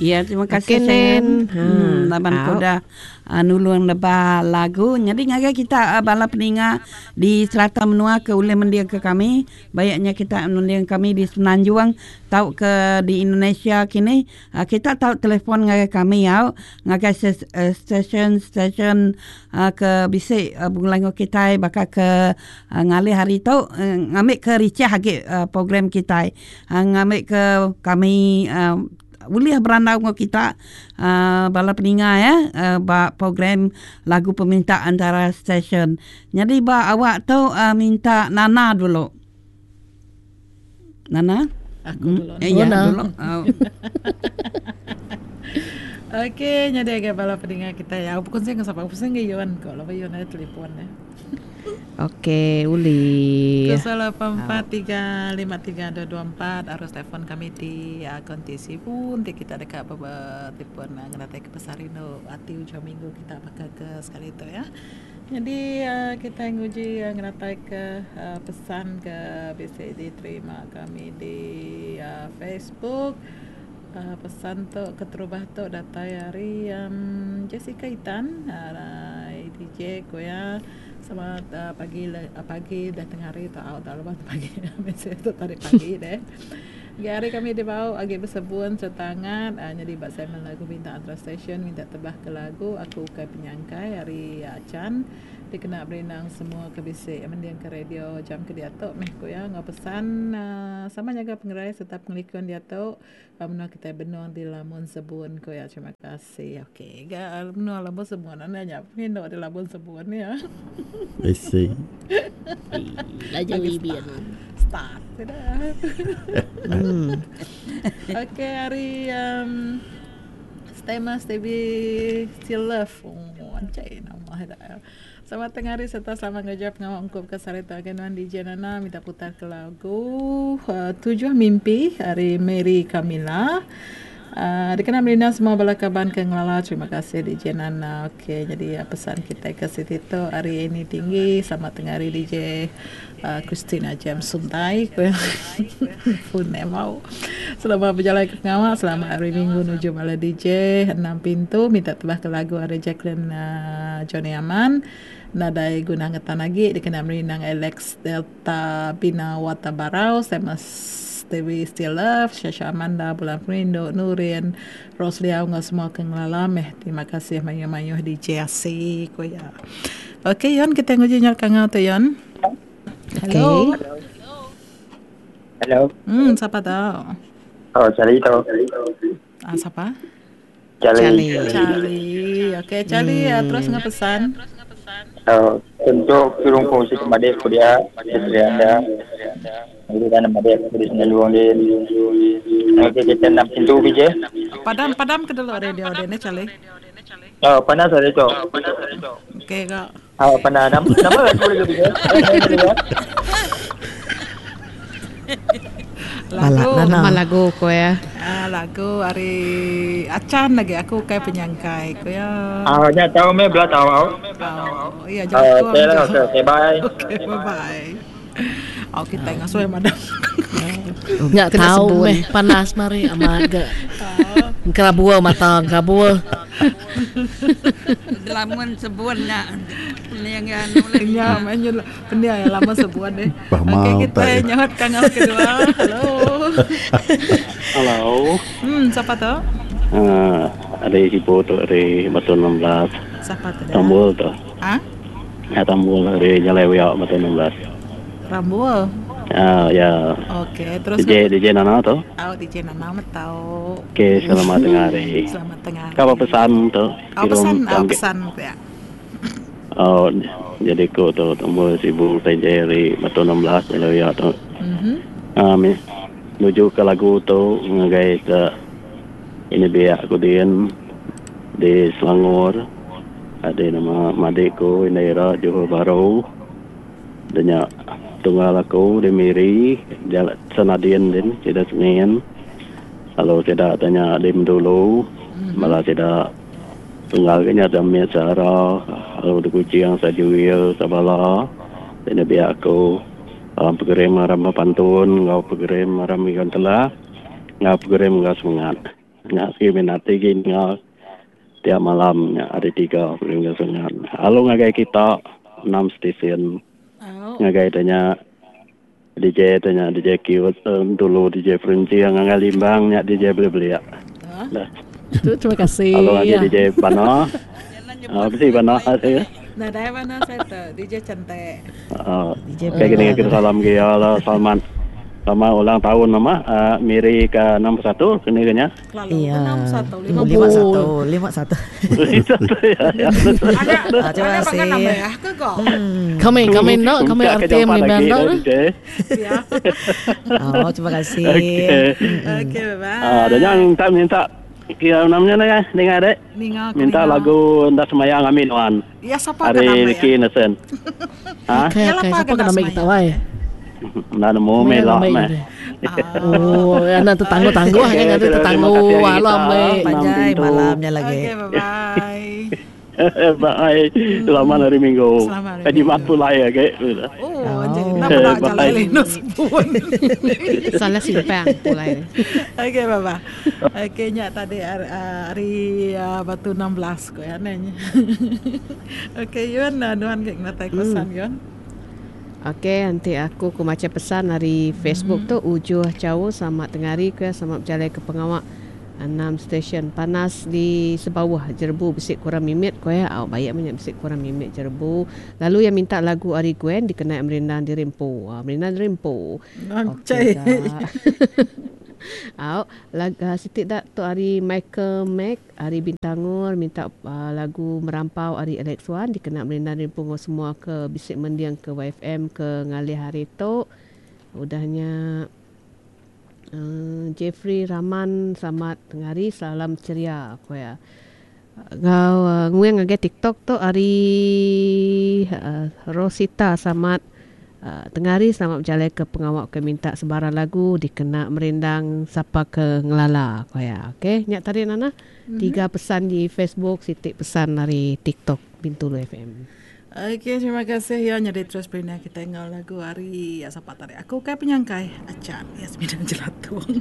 Ya, terima kasih okay, Sharon. Ha. Laban aku dah nulung neba lagu. Jadi ngagai kita bala peninga di serata menua ke ulih mending ke kami, baik nya kita mending kami di Semenanjung tauka di Indonesia kini, kita tau telefon ngagai kami au ngagai stesen-stesen ke bisi begulai enggau kitai baka ke ngalih hari tu ngambi ke richah agi program kitai. Ngambi ke kami ulih berandau enggau kita bala peninga ya ba program lagu peminta antara stesen. Nyadi ba awak tu minta Nana dulu. Nana? Aku dulu. Eh, ya, dulu. Okey, nyadi agak bala peninga kita ya. Aku pusing ke sapa? Pusing ke Yon ko. Laban Yon ada telefon ya. Okey, ulih. 08353224 arus telefon kami ti konti sibu enti kita deka betelefon ngenatai ke pasal rindu ati ujung minggu kita baka ke sekali tu ya. Nyadi kitai nguji ngenatai ke pesan ke bisi diterima kami di Facebook. Pesan tu keterubah tu datai ari Jessica Itan DJ ku iya selamat pagi pagi dah tengah hari tu au tau lebuh pagi message tu tadi pagi deh. Agi hari kami dibau agi besebun sereta angat nyadi ba segmen lagu bintang antara stesen minta tebah ke lagu aku ukai penyangkai ari Achan. Dikena berindang semua ke bisi mendingka radio jam ke diatu meh ku iya enggau pesan sama nyaga pengerai sereta pengelikun diatu ba menua kitai benung di lamun sebun ku iya. Terima kasih. Okey ga menua lamun sebun enda nya pengindu di lamun sebun iya. Bisi. Laju ibin. Start sida. Okey hari um Stema Stevie Still Love. Oh, anjay nama ida. Selamat tengah hari serta selamat ngereja pengawa ungkup ke sehari tu agai nuan DJ Nana minta putar ke lagu uh, Tujuh Mimpi ari Mary Camilla. Uh, dikena merindang semua bala kaban ke ngelala terima kasih DJ Nana. Okey jadi uh, pesan kita ke siti tu hari ini tinggi selamat tengah hari DJ Christina James Suntai ku iya. Full name au. Selamat bejalai ke pengawa, selamat hari minggu nuju bala DJ enam pintu minta tebah ke lagu ari Jacqueline uhh Johnny Aman. Nadai guna ngetan agi dikena merindang Alex Delta Bina Wata Barau, Samus Dewi Still Love, Shasha Amanda, Bulan Pengerindu, Nurin, Rose Liau enggau semua ke ngelala meh. Terima kasih mayuh-mayuh DJ Asi ku iya. Okey Yon kitai nguji nyau kangau tu Yon. Hello. Hello. Siapa tu? Oh, Charlie tu. Ah, siapa? Charlie. Charlie. Okey, Charlie terus ngah pesan. Oh, untuk turun kongsi ke madik aku dia, isteri anda. Jadi kan madik aku di sini luang dia. Okey, kita nak pintu PJ. Padam padam ke dulu radio dia ni Charlie. Oh, panas hari tu. Okey kak. Ah, pernah nama nama lagu lagi dia. Lagu nama lagu ko ya. Ah, lagu ari Achan lagi aku ukai penyangkai ko ya. Ah, nya tahu me bela tahu. Oh, iya jauh. Okay lah, okay, okay, bye. Okay, bye bye. Oh, kita ngasuh madam. Nya tau meh panas mari amat ga. Engkerabur mata engkerabur. Lamun sebun nya pening iya nulih. Nya meh nya pening iya lamun sebun deh. Okey kitai nyahut kangau kedua. Hello. Hello. Sapa tu? Uh, ari Sibu tu ari Batu 16. Sapa tu dah? Tambul tu. Ha? Ya Tambul ari Jalai Wiak Batu 16. Rambul. Ah ya. Okey, terus DJ DJ Nana tu. Oh, DJ Nana metau. Okey, selamat tengah hari. Selamat tengah hari. Kau apa pesan tu? Oh, pesan, oh, pesan ya. Oh, jadi ku tu Tambul Sibu DJ ari Batu 16 Jalai Wiak tu. Mhm. Um, nuju ke lagu tu ngagai ke ini biak ku din di Selangor. Adi nama madik ku indai ira Johor Bahru. Da nya tunggal aku di Miri ja Senadin din sida Senin lalu sida te nya di Bintulu bala sida tunggal ke nya Damit Sara lalu di Kuching Sajuil Sabala ti ne biak aku dalam program aram bepantun enggau program aram ikan telah enggau program enggau semengat. Nya sigi minat agi ninga tiap malam nya hari tiga minggu sengat. Lalu ngagai kita enam stesen ngagai te nya DJ te nya DJ Cute dulu DJ Perenching ngagai Limbang nya DJ Belik-belik. Dah. Terima kasih. Lalu ngagai DJ Bana. Bisi Bana ati. Nadai Bana saya tu DJ cantik. DJ Bana. Kini kita salam ke ya lah selamat selamat ulang tahun nama Miri ke 61 kini ke nya. Iya. 51, 51. Ada terima ada kasih. pakai nama ya ke kok. Kami kami no kami Puncak ke RTM jampat ni lagi benda dah tu. DJ. Ya. Oh, terima kasih. Okey. Okey, bye bye. Ah, dan yang tak minta kira namanya ni eh, dengar dek. Ninga aku Minta ninga. lagu Enda Semayang Amin Wan. Ya siapa ke Hari nama ya? Ricky Innocent. Ha? Okey Yalah, okey apa siapa kena kena ambil kita semayang? wai. Enda nemu Maya melok ambil meh. ni. Oh, anak tertangguh-tangguh Okey, kan ada terima tertangguh kasih hari alam kita. ambil. Panjai Enam pintu. malamnya lagi. Okey, bye bye. Bye. Selamat hari Minggu. Selamat hari Eh, Jumaat Minggu. pula ya, okey. Oh, jadi kenapa nak Bye. jalan Linus pun. Salah simpang pula ini. Okey, bye bye. Okey, nyak tadi hari, hari batu 16 ko ya nanya. Okey, Yun, nuan ke kena pesan Yun. Okey, nanti aku ku baca pesan dari Facebook tu Ujuh Jauh selamat tengah hari ke selamat berjalan ke pengawak enam stesen panas di sebawah jerbu bisik kurang mimit ko ya au baik banyak bisik kurang mimit jerbu lalu yang minta lagu Ari Gwen dikenai merindang dirimpu merindang dirimpu Okey. dah. Au, lag, Siti dak tu hari Michael Mac, hari Bintangur minta lagu Merampau hari Alex Wan dikena merindang rimpu ngau semua ke bisik mendiang ke YFM ke ngalih hari tu. Udahnya Jeffrey Rahman selamat tengah hari salam ceria aku ya. Ngau nguang ngagai TikTok tu hari Rosita selamat tengah hari selamat berjalan ke pengawak ke minta sebarang lagu dikena merindang siapa ke ngelala aku ya. Okey, nyak tadi Nana. Tiga pesan di Facebook, sitik pesan dari TikTok Bintulu FM. Okey, terima kasih ya jadi terus bina kita ngau lagu hari ya siapa tadi. Aku kayak penyangkai acan Yasmin dan Jelatung.